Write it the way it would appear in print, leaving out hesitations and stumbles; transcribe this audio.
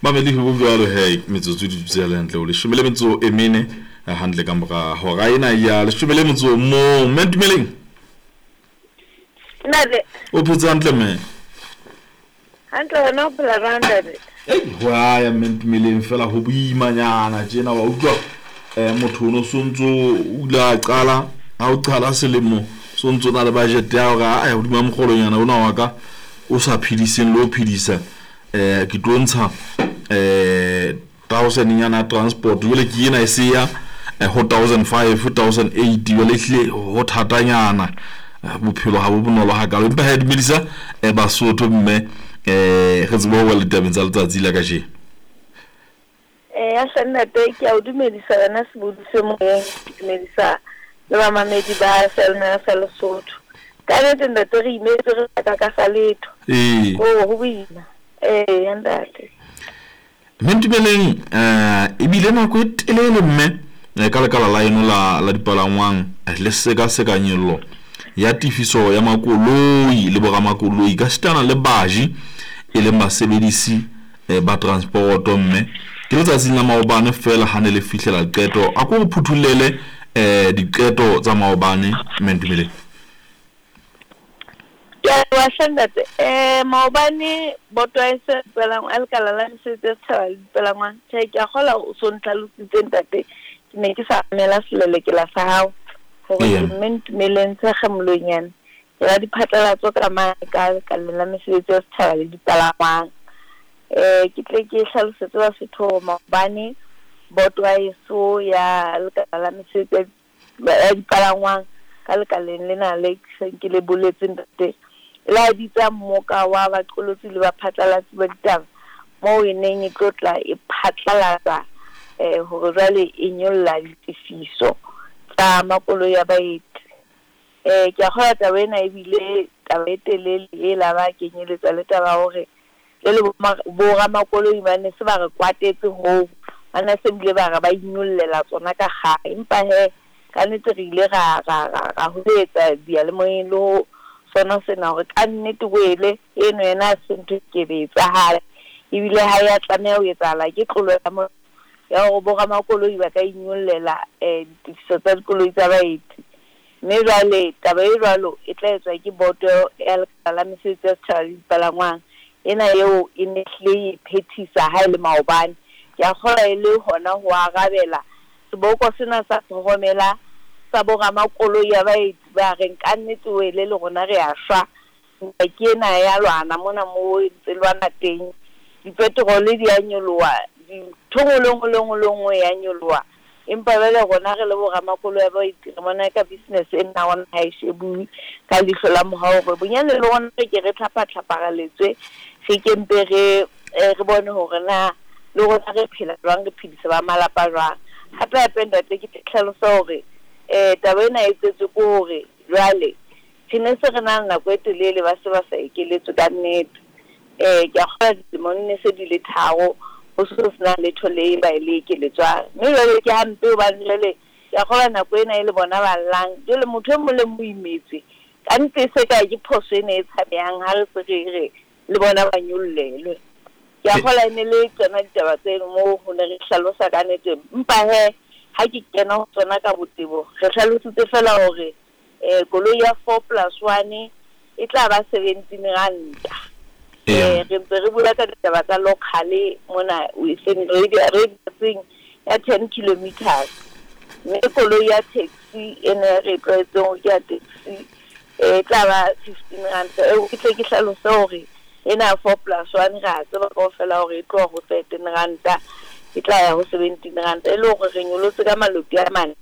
Mamedi ho jwalo he, metsotso di dutse hantle ho 14, hantle ka mora hora ena ya 11. Mme Ntumeleng. Ntate. O phetse hantle mme? Hantle, wena o phela jwang, ntate? Ei, ho ya mme Ntumeleng fela ho boimanyana tjena wa utlwa. Motho o no sontso o ile a qala ha o qala selemo sontso na le budget ya hore a hodima mokgolonyana ona wa ka o sa phediseng le ho phedisa, ke tlo ntsha 1000 nyana transport, jwale ke ena e se ya ho 1500 1800, jwale ehlile ho thatanyana, bophelo ha bo bonolo hakalo. Empa ha dumedisa Basotho mme re tsebe ho wela ditabeng tsa letsatsi la kajeno. Ya hle ntate, ke a o dumedisa wena sebodi se moyeng, ke dumedisa le bamamedi ba Selmere sa Lesotho. Ka nnete ntate re imetse re sa ka sa letho. Ho boima. Ya ntate. Mme Ntumeleng, ebile nako e telele mme ka lekala la eno la dipalangwang le sekaseka nyollo ya tefiso ya makoloi le boramakoloi ka sitana le baji e leng basebedisi ba transporoto. Mme ke letsatsing la maobane fela ha ne le fihlela qeto. A ko re phuthullele diqeto tsa maobane, mme Ntumeleng. Ke a leboha hle ntate. Maobane boto ya se dipalangwang a lekala la mesebetsi ya setjhaba le dipalangwang. Tjhe, ke a kgola o so ntlhalositse ntate. Ke ne ke sa mamela selelekela sa hao hore ke mme Ntumeleng Tshekgemolonyane. Ke ra diphatlalatso ka mane ka lekaleng la mesebetsi ya setjhaba le dipalangwang. Ke tle ke hlalosetse Basotho hore maobane boto ya heso ya lekala la mesebetsi ya dipalangwang ka lekaleng lena le seng ke le boletse ntate, e la bitsa mmoka wa baqolotsi le baphatlalatsi ba ditaba moo e neng e tlotla e phatlalatsa hore jwale e nyolla ditefiso tsa makoloi a baeti. Ke a kgolwa taba ena ebile taba e telele e la ba kenyeletsa le taba hore jwale boramakoloi ba ne se ba re kwatetse hoo, ba ne se bile ba re ba inyollela tsona ka kgale. Empa he ka nnete re ile ra holetsa diyalemoyeng le ho sona sena hore ka nnete wele eno yena ha se ntho e kebe etsahala, ebile ha ya tlameha ho etsahala. Ke tlolo ya molao ya hore boramakoloi ba ka inyollela ditefiso tsa dikoloi tsa baeti. Mme jwale taba e jwalo e tla etswa ke boto ya lekala la mesebetsi ya setjhaba le dipalangwang ena eo e ne hlile e phethisa ha e le maobane. Ke a kgolwa e le hona ho arabela seboko sena sa tlhokomela sa boramakoloi ya baeti ba reng ka nnete wele le rona re a shwa. Ke ena ya lwana mona mo ntse lwana teng, dipetrole di a nyoloha, dintho nngwe le nngwe le nngwe le nngwe ya nyoloha. Empa jwale rona re le boramakoloi ya baeti re bona ka business ena rona ha e shebuwe ka leihlo la mohau hore bonyane le rona re ke re tlhapa-tlhaparaletswe, re ke mpe re bone hore na le rona re phela jwang, re phedisa ba malapa jwang. Hape hape ntate ke tlhalosa hore taba ena e tsetswe ke hore jwale re ne se re na le nako e telele ba se ba sa ekeletswe ka nnete. Ke a kgolwa dilemo ne se di le 3 ho se sena letho le ba le ekeletswang. Mme jwale ke hampe hobane jwale ke a kgolwa nako ena e le bona ba llang. Jwale motho e mong le mong o imetswe. Ka nnete se ka ke phoso ena e tshabehang ha re se re re le bona ba nyollelwe. Ke a kgolwa e ne le tsona ditaba tseno moo ho ne re hlalosa ka nnete. Empa he ha ke kena ho tsona ka botebo, re hlalositse fela hore koloi ya 4+1 e tla ba 17 ranta. Re ntse re bua ka ditaba tsa local mona within radiusing ya 10 kilometers. Mme koloi ya taxi ena re tlwaetseng hore ke ya taxi e tla ba 15 ranta. Eo ke tle ke hlalose hore ena 4+1 re a tseba kaofela hore e tloha ho 13 ranta e tla ya ho 17 ranta, e le hore re nyolotse ka maloti a mane.